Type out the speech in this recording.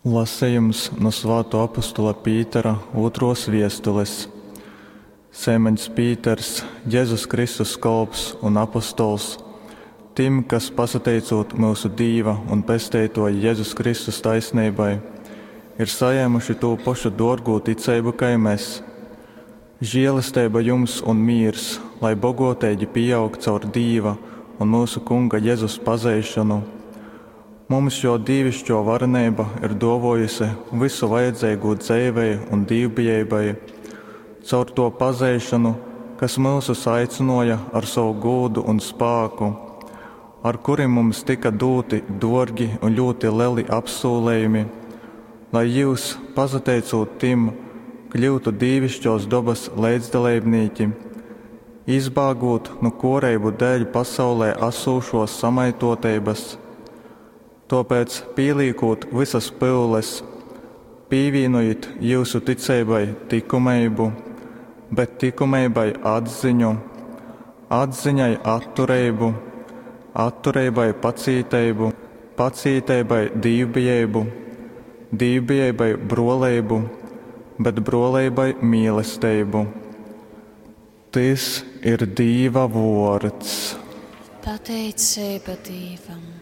Lasejums nu Svātuo apostola Pītera ūtruos viestules. Seimaņs Pīters, Jezus Kristus kolps un apostols, tim, kas, pasateicūt myusu Dīva un Pesteituoja Jezus Kristus taisneibai, ir sajēmuši tū pošu duorgū ticeibu kai mes. Žielesteiba jums un mīrs, lai boguoteigi pīaug caur Dīva un myusu Kunga Jezus pazeišonu. Mums Juo dīviškuo vareneiba ir duovuojuse vysu vajadzeigū dzeivei un dīvbijeibai, caur Tuo pazeišonu, kas myusus aicynuoja ar sovu gūdu un spāku, ar kurim mums tyka dūti duorgi un ļūti leli apsūlejumi, lai jius, pasateicūt tim, kļyutu dīviškuos dobys leidzdaleibnīki, izbāgūt nu kuoreibu dēļ pasaulē asūšuos samaituoteibys. Tuopēc, pīlīkūt vysas pyules, pīvīnojit jyusu ticeibai tykumeibu, bet tykumeibai atziņu, atziņai attureibu, attureibai pacīteibu, pacīteibai dīvbijeibu, dīvbijeibai bruoleibu, bet bruoleibai mīlesteibu. Tys ir Dīva vuords. Pateiceiba Dīvam.